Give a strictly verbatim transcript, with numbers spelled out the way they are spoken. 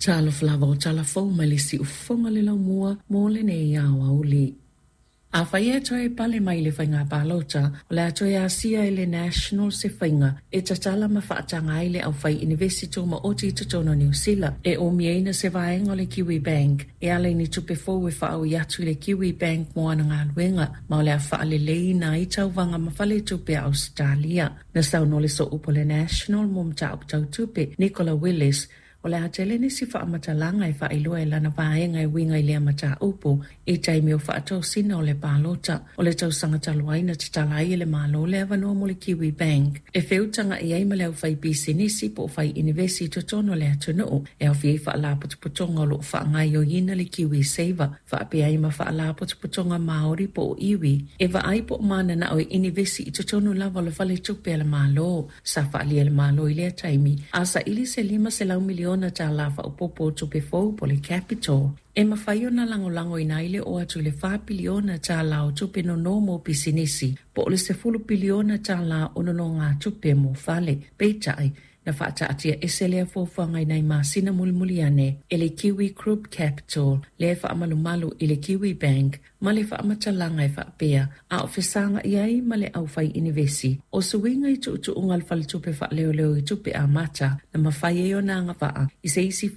Talofa lava o tala fou mai le siufofoga le laumua mo lenei aoauli. Afai e toe pale mai le faiga palota, o le a toe asia e le National se faiga e tatala ma faataga ai le aufai inivesi tumaoti i totonu o Niu Sila e omiaina se vaega o le Kiwi Bank e ala i ni tupe fou e faaui atu i le Kiwi Bank mo ana galuega, ma o le a faaleleiina ai tauvaga ma faletupe a Ausetalia. Na saunoa le sooupu o le National mo mataupu tau tupe, Nicola Willis, o le a tele nisi faamatalaga e faailoa e lana vaega e uiga i lea mataupu i taimi o faatosina o le palota. O le tausaga talu ai na tatala ai e le Malo le avanoa mo le Kiwi Bank e feutaga'i ai ma le aufaipisinisi po o fai inivesi i totonu o le atunuu e aofia ai faalapotopotoga o loo faagaoioiina le Kiwi Saver, faapea ai ma faalapotopotoga Maori po o iwi e vaai po o mananao e inivesi i totonu lava o le faletupe a le Malo. Sa faaalia e le Malo i lea taimi a saili se lima selau miliona tālā faaopoopo o tupe fou po o le capital e mafai ona lagolagoina ai le oo atu i le fa piliona tālā o tupe nono mo pisinisi po o le sefulu piliona tālā o nonogatupe mo fale. Peitai, na faataatia ese lea fuafuaga i nai masina mulimuli ane e le Kiwi Group Capital lea e faamalumalu i le Kiwi Bank ma le faamatalaga e faapea a o fesaga'i ai ma le aufai inivesi o suiga i tuutuuga o le faletupe faaleoleo i tupe amata na mafai ai ona agavaa i se isi